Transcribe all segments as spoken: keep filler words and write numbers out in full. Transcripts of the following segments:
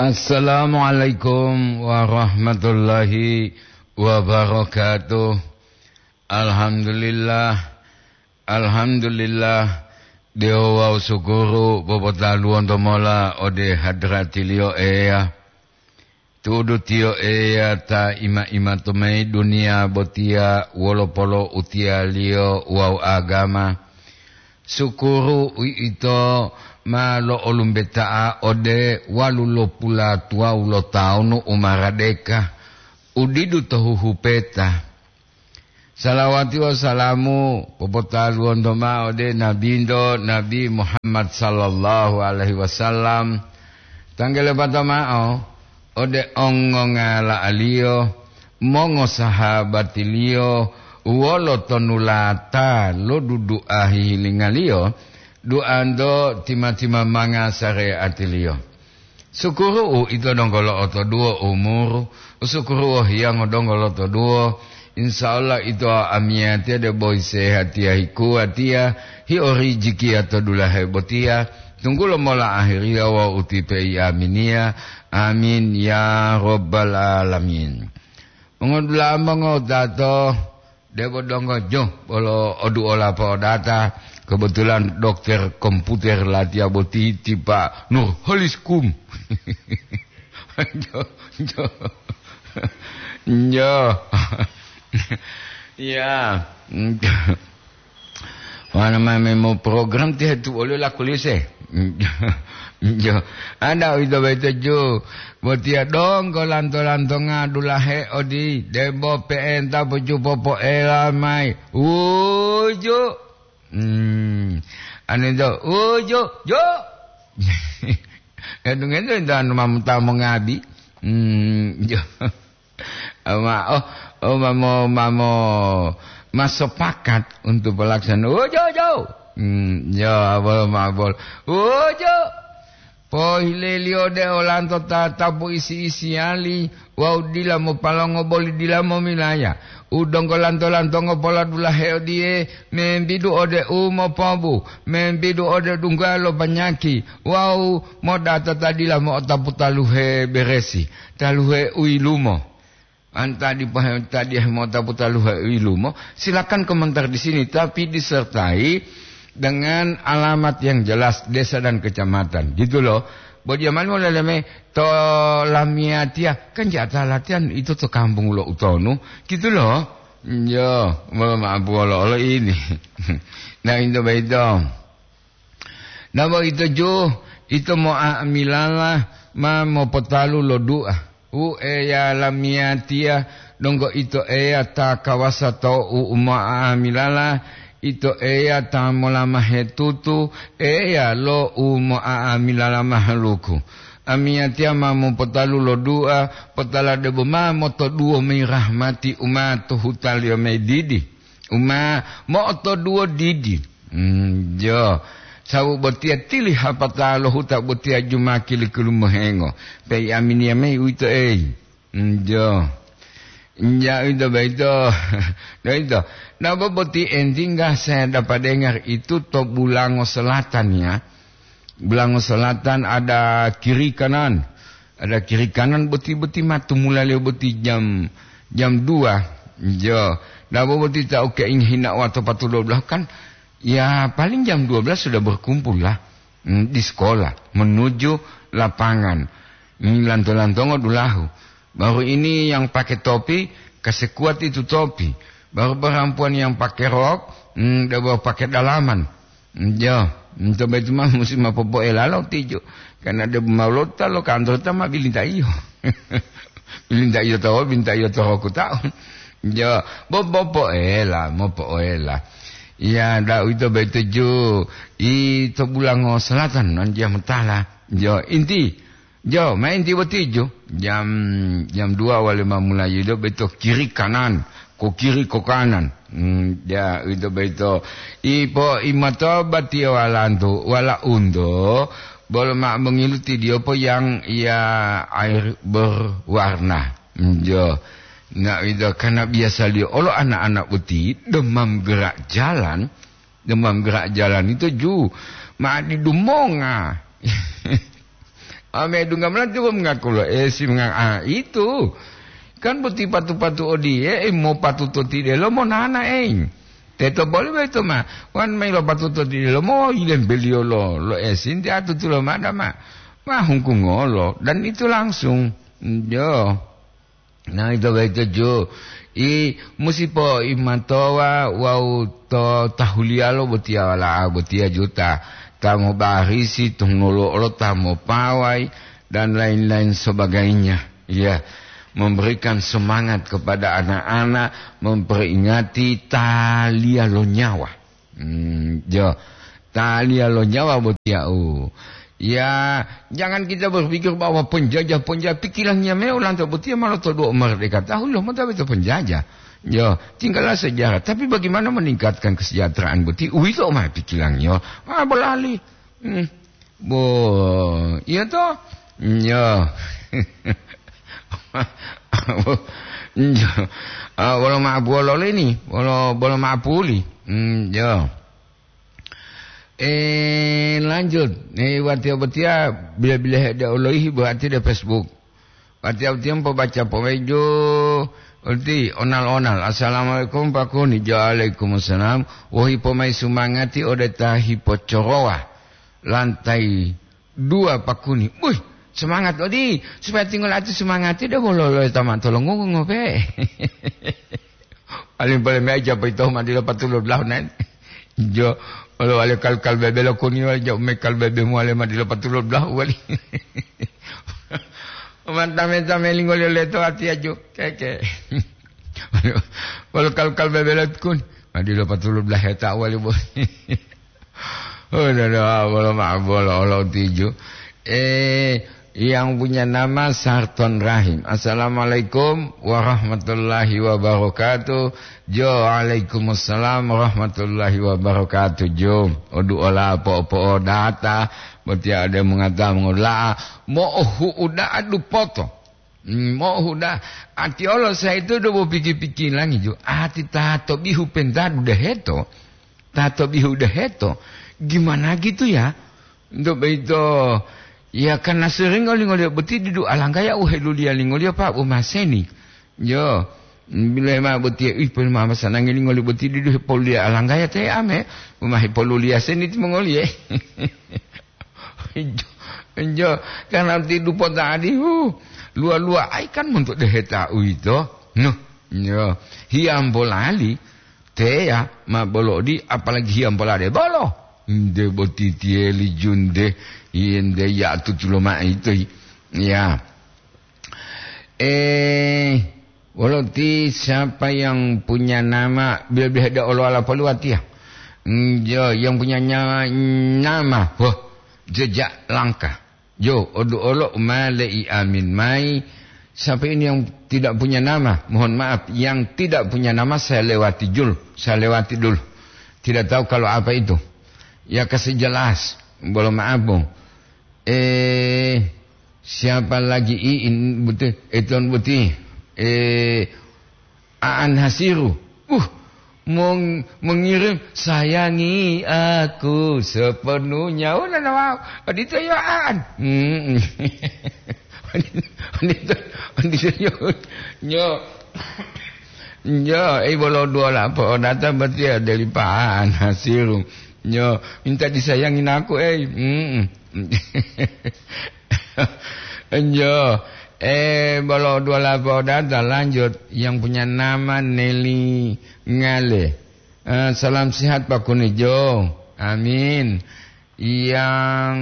Assalamualaikum warahmatullahi wabarakatuh. Alhamdulillah, alhamdulillah, dewo wawu sukuru popotaluwonto mola ode hadratiliyo Eya. Tu'udu tiyo Eya ta ima-ima to mayi duniya botiya wolo polo'utiyaliyo wawu agama. Sukuru uwito ma lo'olumbeta'a ode walulopulatuwawu lo tawunu u maradeka, u didu to huhupeta. Salawati wawu salamu popotaluwonto mao ode Nabinto, Nabi Muhammad sallallahu alaihi wasallam. Tanggele pato mao ode ongongala'aliyo, mongosahabatiliyo, wolo tonulata lo dudu'a hihilingaliyo, duanto tima-timamanga sareatiliyo. Sukuru'u ito donggo lo'otoduwo umuru, sukuru'u hiyango donggo lotoduwo. Insya Allah ito amiyatiya debo sehatiya hikuwatiya, hio rijikiya to dulahe botiya, tunggulo mola ahiriya wawu utipe i aminiya. Amin ya rabbal alamin. Mongodula'a mongotato, debo donggo jo bolo oduola po'odata, kebetulan dokter komputer latiya boti ti Pak Nurholis Kum. Jo, jo. Jo. Ya. Wana mame mo program ti hetu oli la kulise. Jo. Ada uwito boyito ju. Botiya donggo lanto-lantonga dulahe odi, debo pe'enta pojupopoela mayi. Uju. Hmm. Anu ito, uju, ju. Edungentu ito anu mamuta mongabi. Hmm, jo. Ma, oh, oh, mamo, mamo, masopakat untuk pelaksanaan. Uju, ju. Hmm, jo, abol, mabol. Uju. Pohileliyo de olanto tatapu isi-isiyali wawu dila mopalongo boli dila momilaya. U donggo lanto-lantongo poladulahe odiye, membidu ode u mopobu, membidu ode dungga lo panyaki, wawu modata ta dila mo'otapu taluhe beresi, taluhe u yilumo. Anta dipahe-, tadiyahe mota putaluhe u yilumo, silakan komentar di sini, tapi disertai dengan alamat yang jelas, desa dan kecamatan, gitu loh. Bo jamani moleleme to lamiyatiya, kan jata latihan itu to kampung lo utonu, gitu loh. Yo, mohon maaf, olo-olo ini. Nah, itu baik dong. Nabo ito ju, ito mo'a'amilala ma mopotalu lo du'a. Wu Eya lamiyatiya, donggo ito Eya ta kawasa to u mo'a'amilala, ito Eya ta molamahe tutu, Eya lo u mo'a'amilala mahaluku. Amiyatiya ma mopotalu lo du'a, potala debo ma motoduwo mayi rahmati u ma to hutaliyo mayi didi. U ma mo'otoduwo didi. Mm, jo. Sawu botiya tili hapata lo huta botiya jumaki likulumohengo. Pei aminiya mayi uwito, ei. Mm, jo. Ja, uwito boyito. Boyito. Nabo boti entingga saya dapat dengar itu to Bulango Selatan, ya. Bulango Selatan ada kiri kanan. Ada kiri kanan boti-boti ma tumulaliyo boti jam, jam dua. Jo, dabo boti ta uke ingin hina wato patu dua belas kan, ya paling jam dua belas sudah berkumpul lah, mm, di sekolah menuju lapangan. Mm, lanto-lantongo dulahu. Baru ini yang pakai topi, kasih kuat itu topi. Baru perempuan yang pakai rok, mm, dabo pakai dalaman. Jo, nto boyito ma musi ma popoela lo tijo. Karena de ma lota lo kantor ta ma bilintaiyo. Bilintaiyo to, bilintaiyo to roku taun. Jo, bo, bo poela, mo poela. Iya, da uwito boyito ju, i to Bulango Selatan, non dia mutala. Jo, inti, Jo, ma enti boti ju, jam, jam dua wale ma mulayi do boyito kiri kanan, ko kiri ko kanan. Hmm, ja, uwito boyito. Ipo imato batiyo walantu, wala unto, bolo ma mongiluti diyo po yang ya air berwarna. Hmm, jo. Na uwito karena biasa liyo olo anak-anak boti demam gerak jalan, demam gerak jalan itu ju, ma didumonga. Ame dungga melanti ko mengaku lo esi menga-, ah, itu. Kan boti patu-patu odiye, eh, mo patuto tidelo mo nana, eh. Teto boli boyito ma, wan mayi lo patuto tidelo mo yilembeliyo lo, lo esi, nti atutulo mada ma, ma hungkungolo, dan itu langsung. Yo. Nah, ito boyito ju. I, musi poimatowa wawu to tahuliyalo botiya wala'a botiya juta. Ta mobarisi, to nolo'olo ta mopawai, dan lain-lain sebagainya. Ya, memberikan semangat kepada anak-anak, memperingati taliya lo nyawa. Hmm, jo. Taliya lo nyawa botiya u. Ya, jangan kita berpikir bahwa penjajah-penjajah, pikirannya me olanto botiya ma lotoduwo merdeka. Tahu lo mota beto penjajah. Yo, tinggallah sejarah. Tapi bagaimana meningkatkan kesejahteraan boti? Uwito ma pikirannya. Ah, bolali. Hmm. Bo, iya to? Yo. Yo. Ah, bolo ma'apuwolo lini, bolo, bolo ma'apuli. Hmm, yo. Eh, lanjut. Eh, watiya botiya bila-bila hede oloihi buati de Facebook. Watiya botiya pobaca pomeju uti onal-onal. "Assalamualaikum, Pak Kuni." "Waalaikumsalam." "Wohi pomai sumangati ode ta hipocorowa lantai dua, Pak Kuni." Buih, semangat odi, supaya tinggal ati sumangati de bolo lo ta matolongu ngope. Paling-paling meja poyito ma dila patulu dulahu nai. Jo, wolo wale kal-kal bebe lo kuni wale jo me kal bebe muwale ma dila patulu dulahu wali. Manta-menta melingoliyo leto ati aju. Keke. Wolo kal-kal bebe lo kuni. Ma dila patulu dulahu heta wali bo. Oh, dodo, bolo ma-, bolo olo tiju. Eh, yang punya nama Sarton Rahim. "Assalamualaikum warahmatullahi wabarakatuh." Jo, "Waalaikumsalam warahmatullahi wabarakatuh." Jo, odu ola po-, po data, botiya ode mengata mengola'a, mo'ohu'u da'a dupoto. Hmm, mo'ohu'u da'a. Ati olo saito do bo piki-pikilangi jo. Ati ta to bihu pentadu deheto. Ta to bihu deheto. Gimana gitu ya? Untuk begitu, ya, karena sering ngoli-ngoli boti didu alanggaya u heluliya lingoliyo, Pak, bu maseni. Yo, bila ma boti, ih, pun mama sanangi lingoli boti didu hepoluliya alanggaya te ame, bu ma hepoluliya seni timongoliye. Jo, jo, karena ti dupo tadi, hu, lua-lua ai kan monto deheta uwito. Noh, jo, hiyambo lali, teya ma bolo odi, apalagi hiyambo lade bolo. Nde boti tiyeli junde, yende ya tutulo ma ito. Ya. Eh, wolo ti siapa yang punya nama, bila-bila ada olo ala poluwatiya? Hmm, jo, yang punya nya-, nama, wah, jejak langkah. Jo, odu olo ma le'i amin mai. Siapa ini yang tidak punya nama? Mohon maaf, yang tidak punya nama saya lewati jul, saya lewati dulu. Tidak tahu kalau apa itu. Ya, kasih jelas, bolo maaf, Bung. Eh, siapa lagi iin buti, eton buti? Eh, Aan Hasiru. Uh, mong-, mengirim "Sayangi aku sepenuhnya." Oh, nana, wow. Odito yo Aan. Mm-mm. Odito, odito yo. Nyo. Nyo, eh, bolo dua lapo data berarti ya dari Pak Aan Hasiru. Nyo, minta disayangin aku, eh. Mm-mm. Enjo. Eh, bolo dua lapau data lanjut. Yang punya nama Nelly Ngale. Eh, salam sehat, Pak Kunijo. Amin. Yang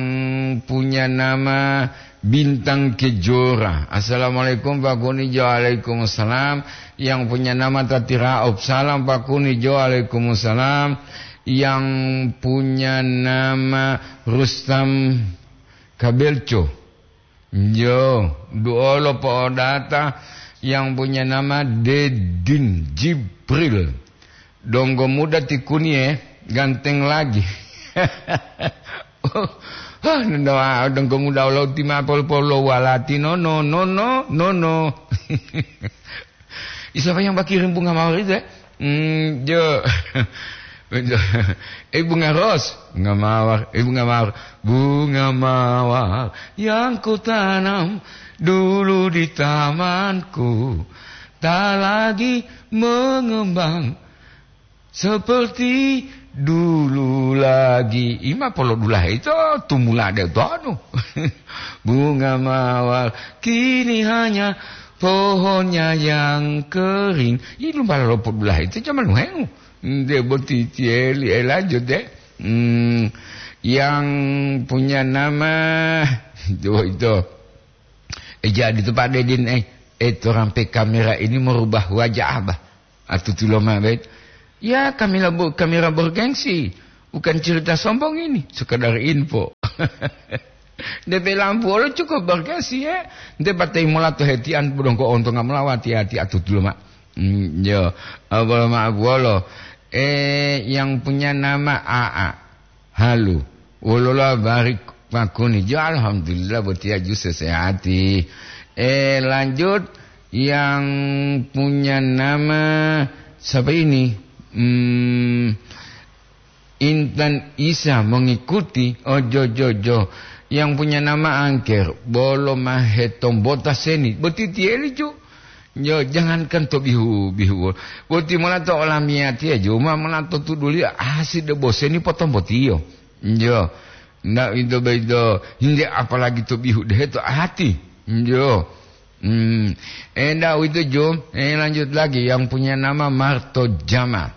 punya nama Bintang Kejora. "Assalamualaikum, Pak Kunijo." "Waalaikumsalam." Yang punya nama Tatiraop. "Salam, Pak Kunijo." "Waalaikumsalam." Yang punya nama Rustam Kabelco. Yo, duolo po'odata yang punya nama Dedin Jibril. Donggo muda ti Kunie, ganteng lagi. Oh, hah, nendo, ah, donggo muda olo ti ma pol-, polo walati, no, no, no, no, no, no. Isapa yang bakirim bunga mawar itu, eh? Hmm, jo. Eh, bunga ros, bunga mawar, eh, bunga mawar, bunga mawar yang kutanam dulu di tamanku, tak lagi mengembang seperti dulu lagi. Ima polodulahe ito tumula de tonu. Bunga mawar kini hanya pohonnya yang kering. Ini lumba lo podulahe ito zaman nuhengu. Nde boti tieli, eh, lanjut deh. Hmm, yang punya nama itu, itu. Eh, jadi tu Pak Dedin, eh, eh, orang pe kamera ini merubah wajah abah. Atutulo mabet. Ya, kamera bu-, kamera bergengsi. Bukan cerita sombong ini, sekedar info. Depe lampu olo cukup bergengsi, ya. Nde patai mola to hetian budongko onto ngamlawa hati-hati atutulo ma. Hmm, yo, abolo ma abuolo. Eh, yang punya nama A A. Halo. Wolola barik makuni. Ya, alhamdulillah, botiya ju sesehati. Eh, lanjut, yang punya nama siapa ini? Hmm, Intan Isa mengikuti. Oh, jo, jo, jo. Yang punya nama Angker. Bolo mahe tombota seni. Boti tieli ju. Yo, jangankan to bihu-bihu. Boti mola to olamiyatiya ju. Ma mola to tuduliyo. Asi de boseni potombotiyo. Njo. Ndak ito boyito, hingge apalagi to bihu dehe to ati. Njo. Hmm. Enda uwito jo, eh, lanjut lagi yang punya nama Marto Jama.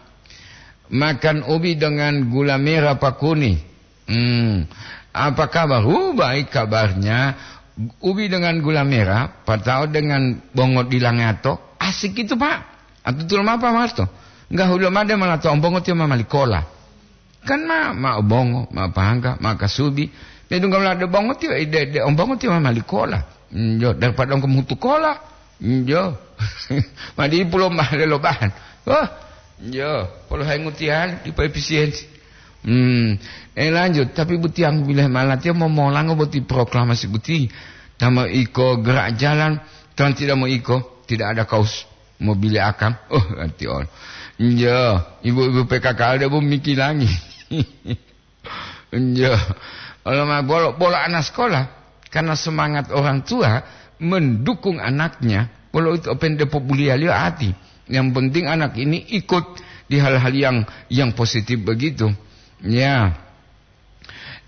Makan ubi dengan gula merah pakuni. Hmm. Apa kabar? Uh, baik kabarnya. Ubi dengan gula merah, patao dengan bongo dilangato. Asik itu, Pak. Atutulo mapa, Marto? Enggak hulo made malah to ombongo tiyo mamali kola. Kan ma, ma obongo, ma pahangga, ma kasubi. Medungga wala de bongo tiyo, de, de ombongo tiyo ma mali kola. Njo, daripada engko mutu kola. Njo. Ma di pulo mahale lo bahan. Wah, njo, polo hai ngutian, dipo efisiensi. Hmm, eh, lanjut, tapi butiang bileh malatiya momolango boti proklamasi boti. Tama iko gerak jalan, tan tidak mau iko, tidak ada kaos. Mobile akam. Oh, ati on. Njo, ibu-ibu P K K L debo mikilangi. Njo. Ola ma bolo, bolo anak sekolah, karena semangat orang tua mendukung anaknya, bolo itu open depo bulialiyo ati. Yang penting anak ini ikut di hal-hal yang, yang positif begitu. Ya.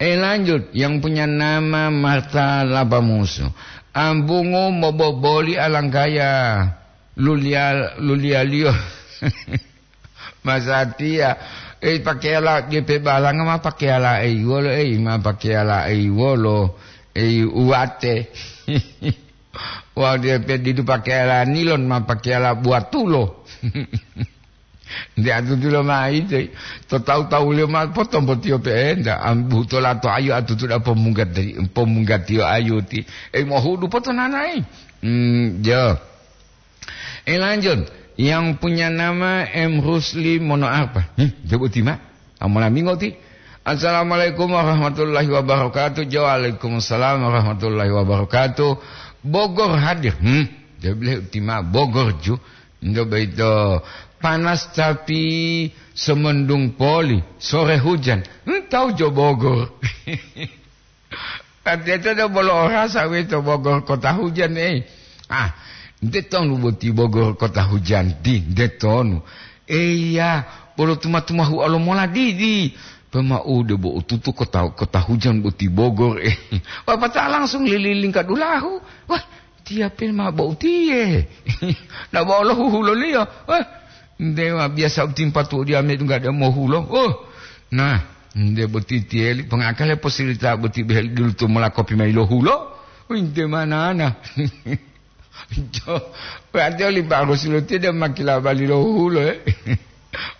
Eh, lanjut, yang punya nama Marta Lapamusu. Ambungu moboboli alanggaya lulia-, lulialiyo. Masatiya, eh, pakeyala G P balanga ma pakeyala ei wolo, ei, ma pakeyala ei wolo, ei uwate. Wau dia pe didu pakeyala nilon ma pakeyala buatulo. Nde atutulo ma ite, to tawu-tawuliyo ma potombotiyo pe'enta, am, butola to ayu atutuda pomunggati-, pomunggatiyo ayuti. Eh, mohudu potonanayi. Hmm, jo. Eh, lanjut. Yang punya nama M Rusli Mono apa? Hmm, coba tima. Amolamingo ti. Assalamualaikum warahmatullahi wabarakatuh. Jo, waalaikumsalam warahmatullahi wabarakatuh. Bogor hadir. Hmm, dia bilang tima Bogor ju. Nto boyito panas tapi semendung poli, sore hujan. Hmm, tawu jo Bogor. Artinya do bolo orasa weto Bogor kota hujan, eh. Ah, nte tonu boti Bogor kota hujan di, nte tonu. Eya, bolo tuma-tumahu alo mola didi. Pemaude bo ututu kota, kota hujan boti Bogor, eh. Wapata langsung lililing ka dulahu. Wah, Tiya pe ma bo utiye. Na bo lo huhuloliyo. Eh, ndewa biasa utimpa tu dia me dunggade mohulo. Oh, nah, nde boti tiyeli pengakale posirita boti behel dulu tu mola kopi mai lo hulo. Winte manana. Jo, berarti oli bagus lo tiye de makila bali lo hulo, eh.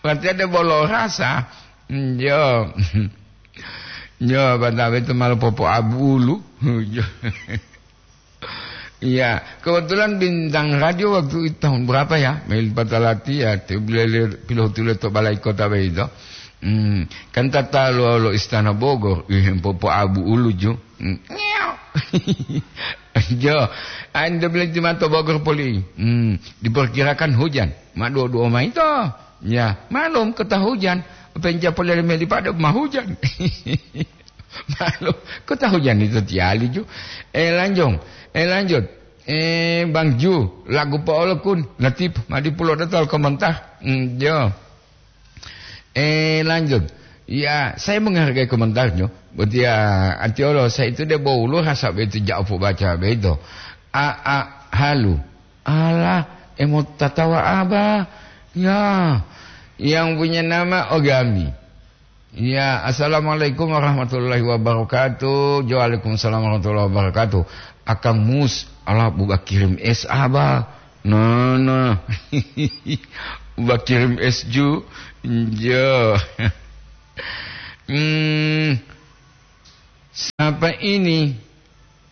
Berarti ada bolo rasa. Jo. Jo, bantame itu malah popo abulu. Jo. Iya, kebetulan bintang radio waktu itu tahun berapa ya? Mil Patalati ya, tu beliau piloh tulis to balai kota begitu. Hmm, kan tata lo, lo istana Bogor, ih, popo abu ulu ju. Hmm, ngew. Jo, anda beli di mata Bogor poli. Hmm, diperkirakan hujan. Ma dua-dua ma itu. Ya, malum kota hujan. Penca polele meli pada ma hujan. Malu, kota hujan itu tiali ju. Eh, lanjong. Eh, lanjut. Eh, Bang Ju, lagu po'olokun, Latif, madi pulo datol komentar. Hmm, jo. Eh, lanjut. Ya, saya menghargai komentarnya. Buat ya, anti Allah, saya itu dia bau lu rasa begitu jauh baca begitu. A, a, halu. Alah, emo tatawa apa? Ya, yang punya nama Ogami. Ya, assalamualaikum warahmatullahi wabarakatuh. Waalaikumsalam warahmatullahi wabarakatuh. Akang Mus, ala buka kirim es aba. Nah, nah. Buka kirim es ju. Jo. Hmm, siapa ini?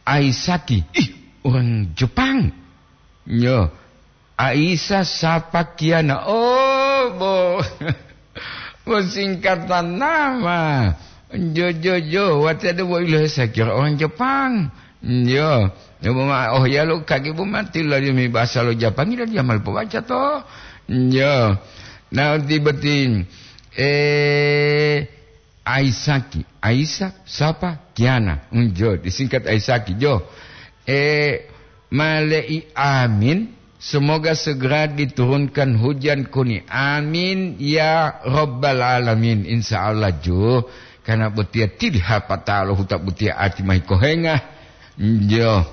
Aisaki. Ih, orang Jepang. Yo. Aisa Sapakiana. Oh, bo. Bo singkatan nama. Jo, jo, jo. Wati ada bo ilo saya kira orang Jepang. Yo. Ya, bo ma, oh ya lo kaki bo mati lo di mi bahasa lo Jepang ilo dia mal baca to. Yo. Nah, tiba-tiba eh Aisaki, Aisa, Sapa, Kiana. Unjo, disingkat Aisaki, jo. Eh, malei amin. Semoga segera diturunkan hujan kuni. Amin ya Rabbal Alamin. Insya Allah, jo. Karena botia tidi hapatalo huta botia ati mai kohenga. Jo.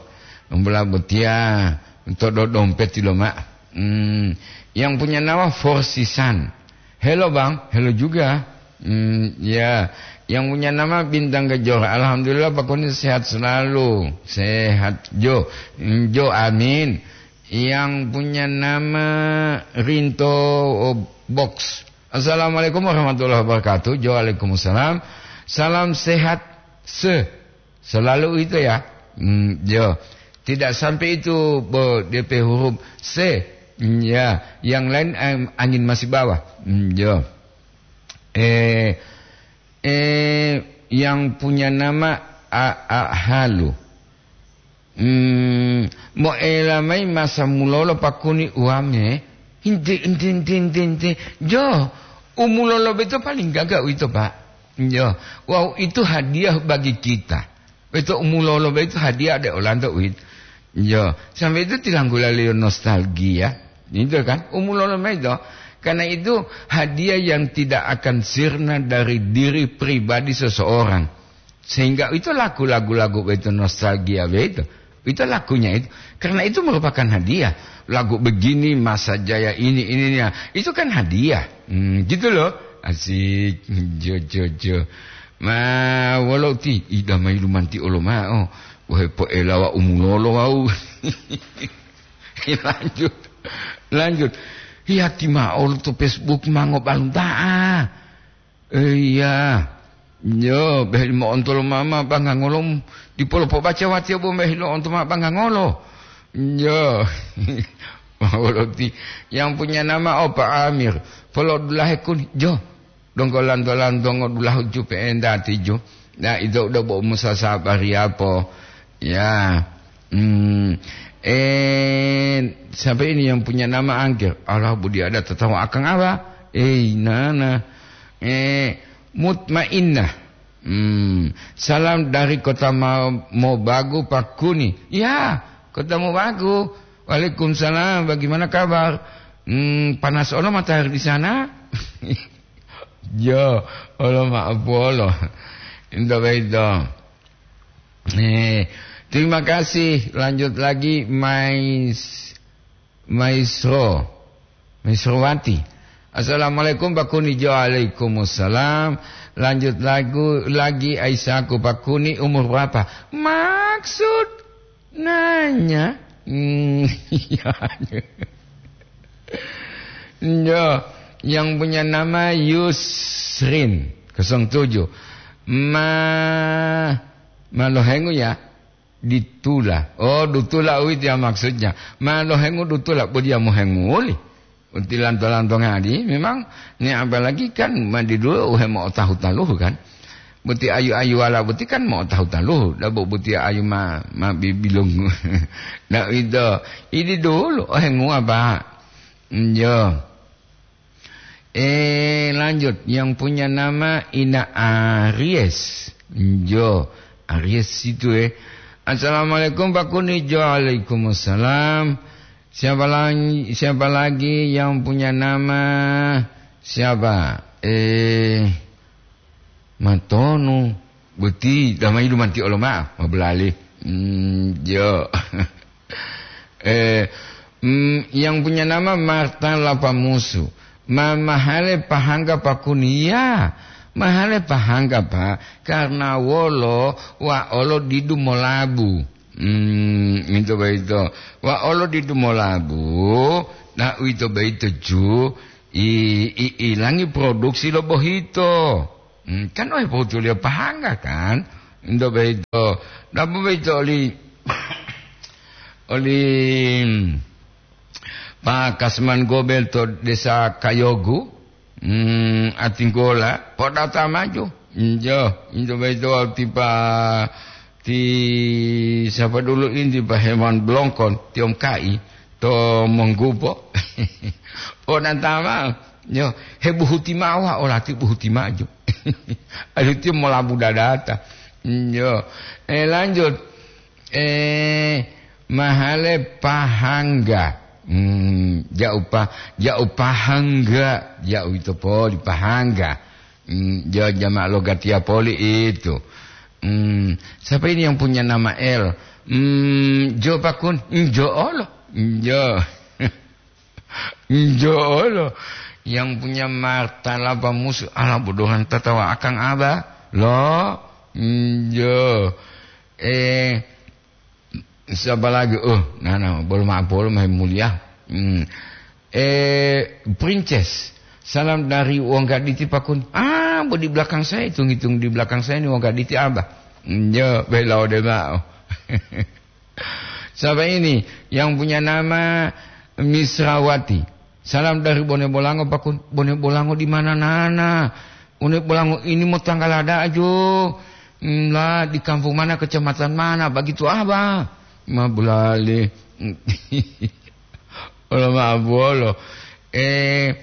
Mbula botia. Todo dompet lo, Mak. Hmm. Yang punya nama Forsisan. Halo, Bang. Halo juga. Hmm, ya. Yang punya nama Bintang Kejora. Alhamdulillah, Pak Koni sehat selalu. Sehat, Jo. Hmm, Jo, amin. Yang punya nama Rinto, oh, Box. Assalamualaikum warahmatullahi wabarakatuh. Jo, waalaikumsalam. Salam sehat se. Selalu itu ya. Hmm, jo. Tidak sampai itu, bo, D P huruf C. Hmm, ya. Yang lain, em, angin masih bawah. Hmm, jo. Eh, eh, yang punya nama A A Halu. Hmm, moela mai masa mulolo pakuni uame. Inte, inte, inte, inte, inte. Jo, umulolo beto paling gaga uito, Pak. Jo, wow, itu hadiah bagi kita. Beto umulolo beto hadiah de olanto uito. Jo, sampai itu tilanggula leo nostalgia. Itu kan, umulolo mai to. Karena itu hadiah yang tidak akan sirna dari diri pribadi seseorang. Sehingga itu lagu-lagu lagu itu nostalgia begitu. Itu lagunya itu. Karena itu merupakan hadiah. Lagu begini, masa jaya ini, ininya. Itu kan hadiah. Hmm, gitu loh. Asik. Jo, jo, jo. Ma, walau ti, ida mai lumanti olo ma'o. Wahai po'elawa umulolo wau. Lanjut. Lanjut. Yati ma'o to Facebook mango balunta'a. Iya. Yo, beh mo'onto lo mama bangangolo, dipolo pobaca watiya bo meh lo'onto ma bangangolo. Yo. Mawoloti yang punya nama Opa Amir. Polo dulahe kun, jo. Donggo lanto-lantongo dulahu jupe endati jo. Nah, itu udah bo musa sabari apa? Ya. Hmm. Eh, siapa ini yang punya nama Angkir? Allah budi ada tatawa akang apa? Eh, nana. Eh, Mutmainnah. Hmm, salam dari kota Ma-, Mobagu, Pakuni. Ya, kota Mobagu. Waalaikumsalam, bagaimana kabar? Hmm, panas ono matahari di sana? Yo, olo maaf olo. Indo bedo. Eh, terima kasih. Lanjut lagi, Mais-, Maisro. Misrowati. Assalamualaikum, Pak Kuni. Jo, waalaikumsalam. Lanjut lagu lagi, Aisyahku, Pak Kuni, umur berapa? Maksud nanya. Hmm, iya. Jo, yang punya nama Yusrin, kosong tujuh. Ma, malohengu ya. Ditula. Oh, dutula uwito ya maksudnya. Ma lohengu dutula, bo diya mohenguli. Uti lanto-lanto ngadi, memang ni apalagi kan madi dulu uhe mo'otahu taluhu kan. Buti ayu-ayu wala buti kan mo'otahu taluhu. Dabo buti ayu ma, ma bibilung. Nah, itu. Ini dulu, ohengu apa? Iya. Eh, lanjut. Yang punya nama Ina Aries. Jo, Aries itu, eh. "Assalamualaikum, Pak Kuni." Jo, waalaikumsalam. Siapa lagi, siapa lagi yang punya nama, siapa? Eh, Matonu. Boti, damai dumanti olo ma'o, mabulali. Hmm, jo. Eh, mm, yang punya nama Marta Lapamusu. Ma-, mahale pahangga Pak Kuni. Ya, mahale pahangga, Pak. Karena wolo, wa olo didu molabu. Hmm, itu baito. Wa olo didu molabu, na uwito baito ju, i, i, ilangi produksi lo bohito. Hmm, kan ohe pohutuliyo pahangga, kan? Ento boyito, dabo boyito oli, oli, hmm, Pak Kasman Gobel to Desa Kayogu, hmm, Atinggola, podata maju. Injo, injo boyito ti pa, ti sapa dulu inti pa Hewan Blongkon, tiom kai. To monggupo. Onantama, yo, hebuhuti ma'o, wa olati buhuti maju. Aduh, tiyo molabu dadata. Yo, eh, lanjut. Eh, mahale pahangga. Hmm, ja'u pa-, ja'u pahangga, ja'u ito poli pahangga. Hmm, jo jama' lo gatiya poli itu. Hmm, siapa ini yang punya nama L? Hmm, jo pakun, jo olo. Jo. Jo olo. Yang punya martalaba musuh, ala bodohan tatawa akang aba. Lo, jo. Eh, siapa lagi? Oh, nah, nah, bolo ma'o, bolo mahe mulia. Hmm. Eh, Princess, salam dari wong gaditi pakun. Ah, bo di belakang saya, hitung-hitung di belakang saya ini wong gaditi aba. Jo, bela ode ma'o. Siapa ini? Yang punya nama Misrawati. Salam dari Bone Bolango, pakun. Bone Bolango di mana, Nana? Bone Bolango ini mau tanggal ada aja. Hmm, lah, di kampung mana, kecamatan mana? Begitu, Abah. Ma bulali. Olo ma bolo. Eh,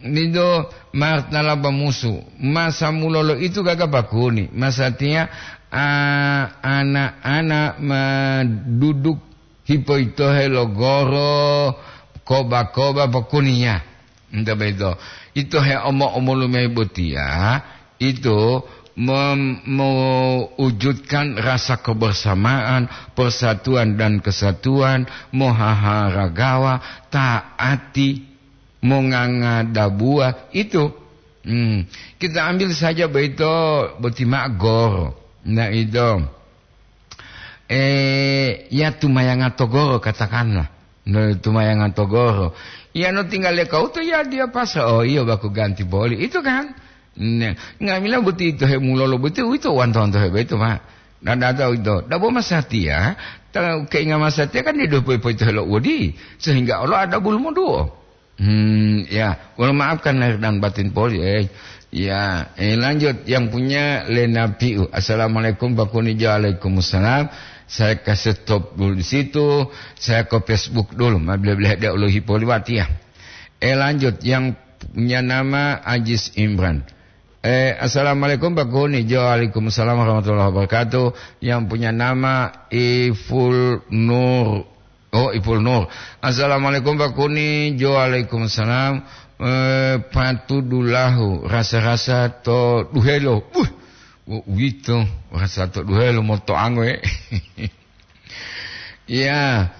nido martalaba musu. Masa mulolo itu gaga pakuni. Masatiya, ah, anak-anak ma duduk hipo itohe lo goro, koba-koba pokuniya. Nta beto. Ito he omo-omolu mayi botiya, ito mem-, mewujudkan rasa kebersamaan, persatuan dan kesatuan, mohaharagawa, taati, mongangadabuwa. Itu. Hmm. Kita ambil saja boyito boti ma'o goro. Nah, itu. Eh, ya tumayanga to goro, katakanlah. No, tumayanga to goro. Ya, no tinggal le kauto, ya dia pasa. Oh, iyo, baku ganti boli. Itu kan? Ne, nga'amila boti ito hemulolo boti, uwito wanto-wanto hebe itu, Pak. Dan ada itu. Dabo masatiya, ta-, keinga masatiya kan dido poi-poi to helo uwodi. Sehingga olo ada bulu moduo. Hmm, ya, wolo maafkan lahir dan batin poli, eh. Ya, eh, lanjut yang punya Lena Piu. "Assalamualaikum, Pak Kuni." Waalaikumsalam. Saya kasih stop dulu di situ. Saya ke Facebook dulu. Ma bele-bele dia uluhi poli wati ya. Eh, lanjut yang punya nama Ajis Imran. Eh, "Assalamualaikum, Pak Kuni." Waalaikumsalam warahmatullahi wabarakatuh. Yang punya nama Iful Nur. Oh, Ipul Nur. "Assalamualaikum, Pak Kuni." Jo, waalaikumsalam. Eh, patudulahu, rasa-rasa to duhelo. Buh, wo-, uwito, rasa to duhelo moto angoe. Iya.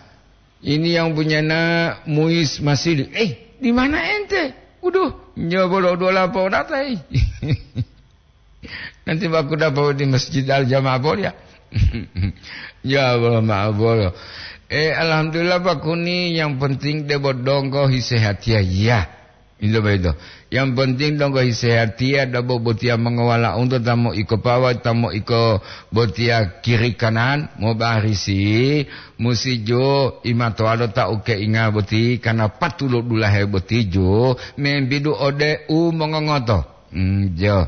Ini yang punya na Muis Masili. "Eh, di mana ente?" "Waduh, nyobo lo dua lapo data, eh." Nanti baku dapat di Masjid Al Jamaah, boleh ya? Ya, boleh, maaf, boleh. Eh, alhamdulillah, Pak Kuni, yang penting debo donggo hisehatiya, ya. Itu begitu. Yang penting donggo hisehatiya, dabo botiya mengawala untuk tamu iko pawa, tamu iko botiya kiri kanan, mau barisi, musi jo, imato ado ta uke inga boti, karena patulo dulahe boti jo, membidu ode u mongongoto. Hmm, jo.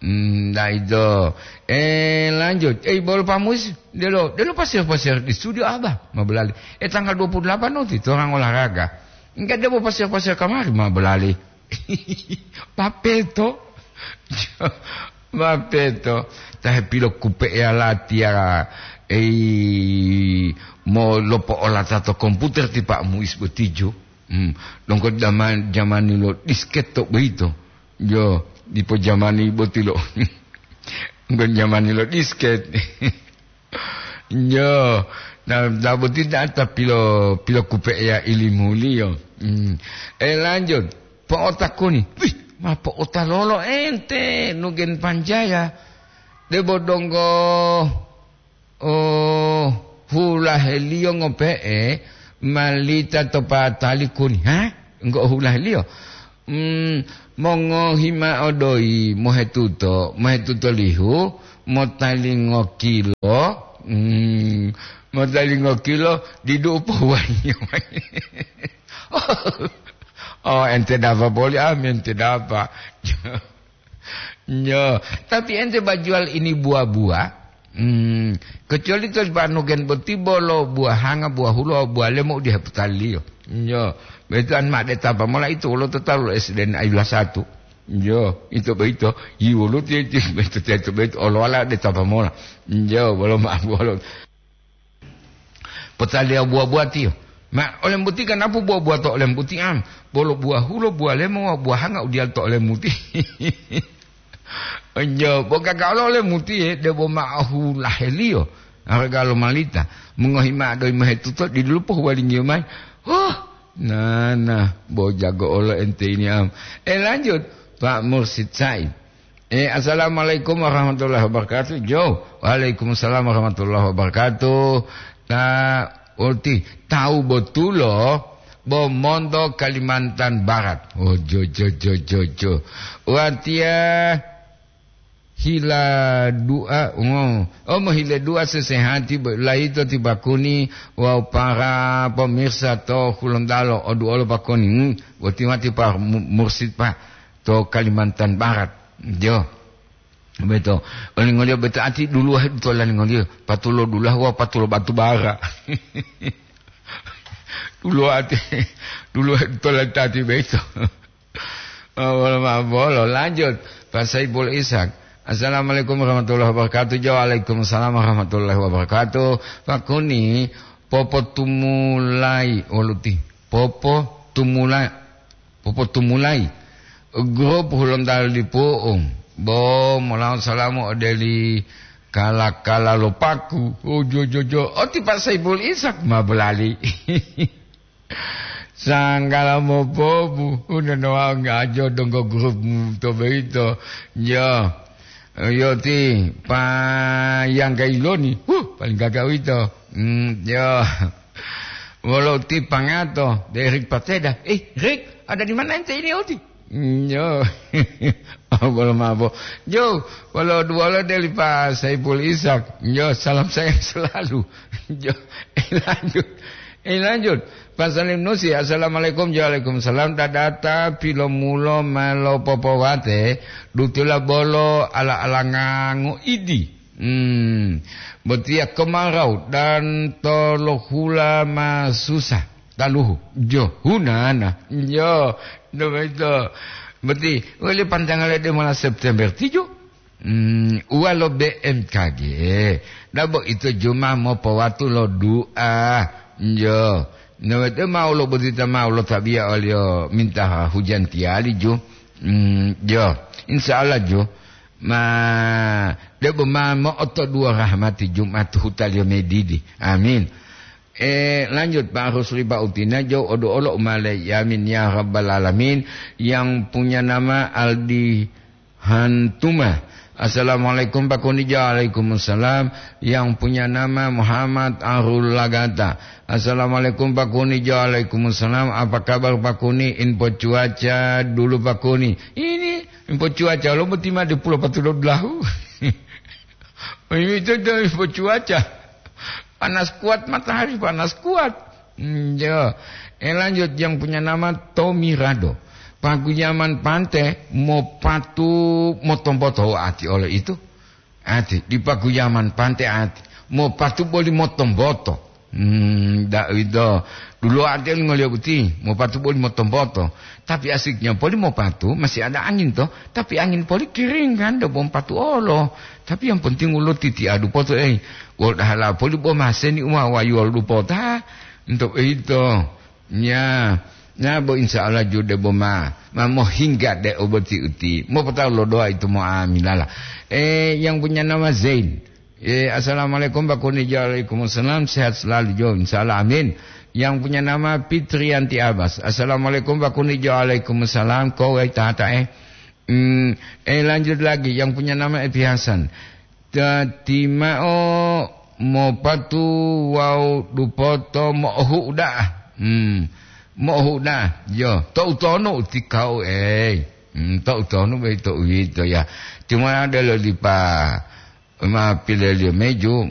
Hmm, daido. Eh, lanjut. Eh, bolo pamuis, delo, delo pasir-pasir di studio Abah, ma belali. Eh, tanggal dua puluh delapan nanti, torang olahraga. Enggak, dia mau pasir-pasir kamari, ma belali. Mapeto. Mapeto. Tahe pilokupe'eya latiya, ei, mo lopo'olata to komputer ti Pak Muis botijo. Hmm. Donggo zaman, jamani lo disket to boyito. Yo, dipo jamani boti lo. Donggo jamani lo disket. Yo, na, na boti data pilo, pilokupe'eya ilimuliyo. Hmm. Eh, lanjut. Po'otakuni. Wih, ma po'otalolo ente, Nugen Panjaya. Debo donggo, oh, hulaheliyo ngope'e, malita to patali kuni. Ha? Enggo hulaheliyo? Hmm, mongohi ma'o doyi mohetuto, mohetuto lihu, motalingo kilo, hmm, motalingo kilo, didu u pohuwaliyo mayi. Oh, ente dapa boli, ami ente dapa. Nyo, tapi ente bajual ini buah-buah, hmm, kecuali to Banugen boti bolo buahanga, buah hulo, buah lemo u diha putaliyo. Nyo, betuan ma de tapa mola itu wolo to talu S D N ayula satu. Nyo, itu beito, yi wolo ti, ti, beito, ti, itu beito, olo wala de tapa mola. Nyo, bolo ma, bolo. Potaliya buwa-buwatiyo. Ma, olembuti ganapu buwa-buwa to olembuti'am, bolo buwa hulo, buwa lemo wawu buwa hanga u diyalu to olembuti. Onjo, bo gaga olo olemutiye, debo ma'o hulaheliyo, araga lo malita, mongohi ma'o doyi mohetuto, dilupo huwalingiyo mayi. Huh, nana, bo jago olo ente ini am. Eh, lanjut, Pak Mursid Said. Eh, assalamualaikum warahmatullahi wabarakatuh. Jo, waalaikumsalam warahmatullahi wabarakatuh. Ta, oti, tawu botulo, bo monto Kalimantan Barat. Oh, jo, jo, jo, jo, jo. Watiya hila du'a, oh, oh, mohile du'a sesehati bo-, layito ti bakuni wawu para pemirsa to Hulontalo, odu'olo bakuni. Hmm, boti wati pa mu-, mursid pa to Kalimantan Barat. Jo. Beto. Olingoliyo beto ati duluwahe dutola lingoliyo. Patulo dulahu wawu patulo batu bara. Duluwati, duluwahe dutola tati beto. Oh, bolo ma-, bolo. Lanjut. Pak Saiful Ishak. Assalamualaikum warahmatullahi wabarakatuh. Jo, waalaikumsalam warahmatullahi wabarakatuh. Pakuni, popotumulai, woluti. Popotumula-, popotumulai grup Hulontalo dipu'u, bo molawo salamu ode li kala-kala lo paku. Oh, jo, jo, jo. Oti Pak Saiful Ishak ma bolali. Sanggala mopobu, unono wau ngajo donggo grup to boyito. Jo. Yo ti payangga iloni. Huh, paling gaga uwito. Hmm, yo. Wolo ti pangato, de Rik Pateda. "Eh, Rik, ada di mana ente ini, Oti?" Hmm, yo. Oh, bolo mabo. Jo, wolo duwolo deli Pak Saiful Ishak. Jo, salam sayang selalu. Jo, eh, lanjut. Eh, lanjut. Pak Salim Nusi, assalamualaikum. Waalaikumsalam. Dadata pilomulo ma lopopowate, dutula bolo ala-alanga ngoidi. Hmm, botiya kemarau dan tolohula ma susah. Taluhu, jo, hunana. Jo, do boyito. Boti, wali pantanggal lebe lima belas September tijo. Hmm, uwa lo B M K G. Dabo ito juma mopowatu lo du'a. Jo. Nowete mau lo botita mau lo tabiya oliyo minta hujan tiyali ju. Hmm, jo. Insya Allah ju. Ma, debo ma mo'otoduwo rahmati Jumat hutaliyo medidi. Amin. Eh, lanjut, Pak Rusli, Pak Utina, jo odo olo umale. Amin ya rabbal alamin. Yang punya nama Aldi Hantuma. Assalamualaikum, Pak Kuni. Waalaikumsalam. Yang punya nama Muhammad Arul Lagata. Assalamualaikum, Pak Kuni. Waalaikumsalam. Apa kabar, Pak Kuni? Info cuaca dulu, Pak Kuni. Ini info cuaca lo boti ma di Pulau Patulo Dulahu. Ini itu, itu info cuaca. Panas kuat matahari, panas kuat. Hmm, ya. Eh, lanjut, yang punya nama Tommy Rado. Paguyaman Pante mopatu motomboto ati oleh itu. Ati, di Paguyaman Pante ati. Mopatu boli motomboto. Hmm, da uwito. Duluwo ati oli ngoliyo boti, mopatu boli motompoto. Tapi asiknya poli mopatu, masih ada angin to. Tapi angin poli kering kan, debo mopatu olo. Tapi yang penting ulo titi adu poto, eh. Wol dahala poli bo maseni uma wayuwol dupota. Untuk itu. Ya, ya bo insya Allah jude bo ma. Ma mohingga de oboti uti. Mopotau lo doa itu mo amilala. Eh, yang punya nama Zain. Eh, assalamualaikum, Pak Kunijo. Waalaikumsalam. Sehat selalu, Jo. Insya Allah, amin. Yang punya nama Fitrianti Abbas. Assalamualaikum, Pak Kunijo. Waalaikumsalam. Kowe tata, eh. Hmm, eh, lanjut lagi. Yang punya nama Epi Hasan. Tati mao mopatu wawu dupoto mo'ohu uda'a. Hmm. Mo'ohu uda'a. Yo, to'u tonu utikau, eh. Hmm, to'u tonu be to'u yito, ya. Cuma ada lo dipa ma pileliyo meju,